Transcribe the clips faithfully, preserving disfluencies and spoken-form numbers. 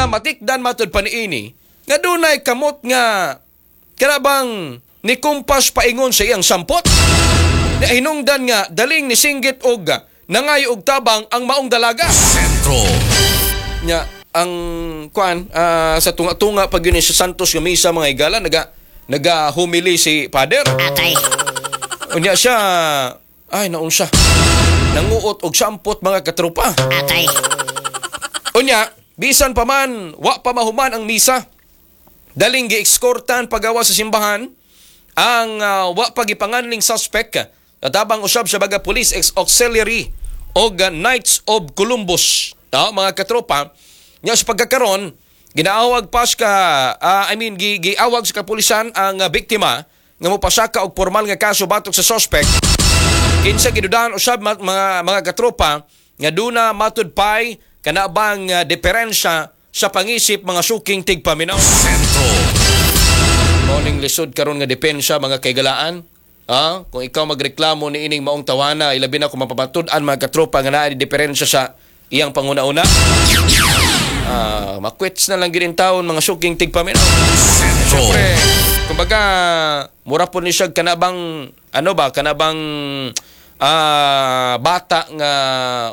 na matikdan matud pa niini nga dunay kamot nga kanabang ni kumpas paingon sa iyang sampot. Na hinungdan nga daling ni singgit og nangayo og tabang ang maong dalaga. Sentro. Nya ang kuan ah, sa tunga-tunga pag yun sa Santos nga misa, mga higala, naga naga humili si Father. Atay. Unya siya ay naunsa nanguot og sampot, mga katropa. Atay. Unya, bisan pa man wa pa mahuman ang misa, daling gieskortan pagawa sa simbahan ang ah, wa pa gipanganling suspect natabang usab sa baga Police ex Auxiliary og ah, Knights of Columbus. Ah, mga katropa, nya sa pagkakaron ginaawag pas ka ah, I mean gi, giawag sa kapulisan ang ah, biktima nga mopasaka og formal nga kaso batok sa suspect kinsa gidudahan usab ma- mga mga katropa nga duna matud pay kana bang uh, diferensya sa pangisip, mga suking tigpaminaw. Sentro. Morning lisod karon nga depensa, mga kaigalaan. Ah, kung ikaw magreklamo ni ining maong tawana, ilabi na kung mapapatud-an, mga katropa, nga naa ni diferensya sa iyang panguna-una. Ah, makwits na lang gid taon, mga suking tigpaminaw. Sentro. Siyempre, kumbaga, mura po ni siya kanabang, ano ba, kanabang ah, bata nga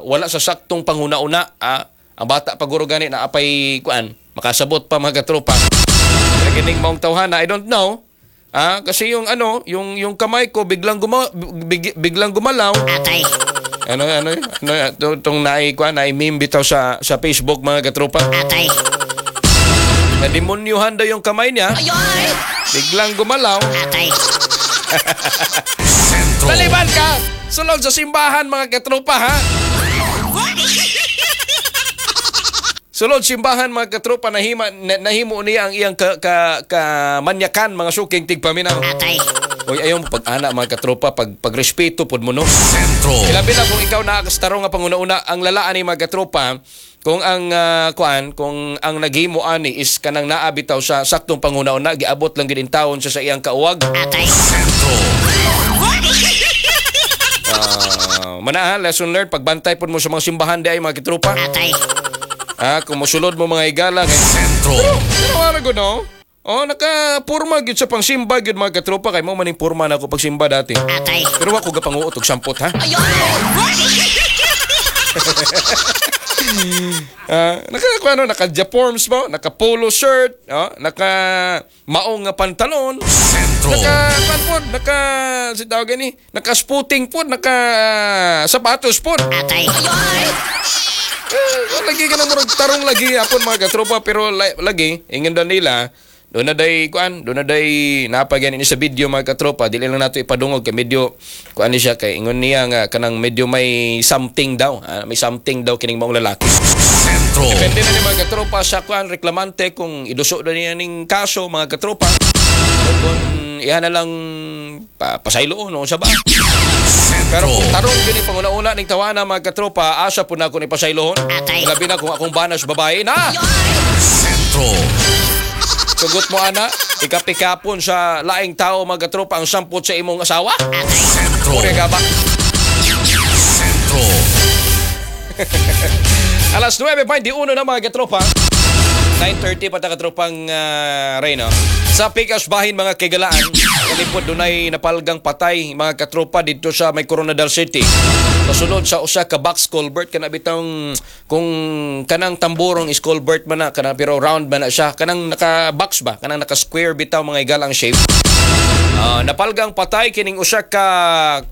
wala sa saktong panghuna-una. Ah, ang bata paguro gani na apay kuan, makasabot pa, mga katropa. Kaya kining maong tawhana, I don't know. Ah, kasi yung ano, yung yung kamay ko biglang guma, big, biglang gumalaw. Atay. Ano ano ano itong naay kuan, naay meme bitaw sa sa Facebook, mga katropa. Atay. Na demonyuhan daw yung kamay niya. Biglang gumalaw. Atay. Sentro. Taliban ka! Sulod sa simbahan, mga katropa, ha? Sulod simbahan, mga katropa, nahima, na, nahimo niya ang iyang ka, ka, kamanyakan, mga suking tigpaminaw. Atay. Uy, ayaw mo pag-ana, mga katropa, pag, pagrespeto pod mo, no? Sentro. Ilabi na kung ikaw nakakastaro nga panguna-una, ang lalaan ni mga katropa, kung ang ah, kuan, kung ang naghimo ani is kanang naa bitaw sa saktong panguna-una, giabot lang gid taon siya sa iyang kauwag. Atay. Sentro. Ah, mana ha, lesson learned, pagbantay pod mo sa mga simbahan di ay, mga katropa. Atay. Ah, kung mosulod mo, mga higala kay Sentro. pero ano ko, no? Oh, naka-purma gyud sa pangsimba gyud, mga katropa, kay mo maning purma na ako pagsimba dati. Atay. Pero wa ko gapanguot og sampot, ha. Ah, naka ano, naka forms mo, naka polo shirt, oh, naka maong nga pantalon, Sentro. naka kuan pod, naka si tawag gani, naka sputing pod, naka sapatos pod. Atay. Eh, lagi ka na murag tarong lagi apon, mga katropa, pero la- lagi ingon daw nila doon na day kuan, doon na day napagyan ini sa video, mga katropa. Dili lang nato ipadungog kay medyo kuan ni siya, kay ingon niya nga kanang medyo may something daw, ah, may something daw kining maong lalaki. Sentro. Depende na ni mga katropa sa kuan reklamante kung iduso na niya ning kaso, mga katropa, o kung iha na lang pa, pasayloon o sa ba. Pero Sentro. kung tarong gini panguna-una ning tawana, mga katropa, asa po na ako ni pasaylohon. Atay. Labi na kung akong banas babae na. Sentro. Sugot mo ana, ikapikapon sa laing tao, mga katropa, ang sampot sa imong asawa. Atay. Sentro. Uri ka ba? Sentro. Alas nuwebe baynte uno na, mga katropa. nine thirty pa ta katropang uh, Reyno. Sa Pikas Bahin, mga kaigalaan, kalipod dunay napalgang patay, mga katropa, dito sa may Koronadal City. Sa sulod sa usa ka box culvert, kana bitong kung kanang tamburong is culvert man na kana, pero round man na siya, kanang naka box ba, kanang naka square bitaw, mga higala, ang shape. Ah, napalgang patay kining usa ka,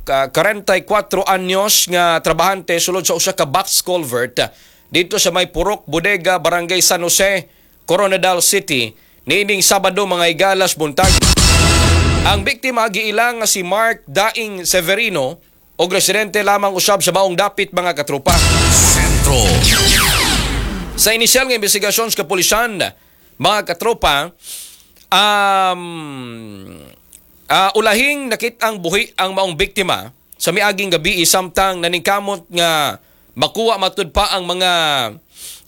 ka kwarenta y kuwatro anyos nga trabahante sulod sa usa ka box culvert dito sa may Purok Bodega, Barangay San Jose, Koronadal City niining Sabado, mga higalas, buntag. Ang biktima giilang nga si Mark Daing Severino og residente lamang usab sa maong dapit, mga katropa. Sentro. Sa inisyal nga investigasyon sa kapulisan, mga katropa, um, ah, ulahing nakit-ang buhi ang maong biktima sa miaging gabi samtang naningkamot nga makuha matud pa ang mga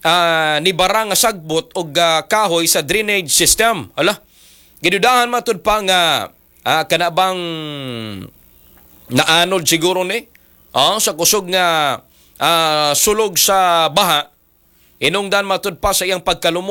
ah, nibara nga sagbot og ah, kahoy sa drainage system. Ala, gidudahan matud pa nga ah, kana bang naanod siguro ni ah, sa kusog nga ah, sulog sa baha. Inungdan matud pa sa iyang pagkalumos.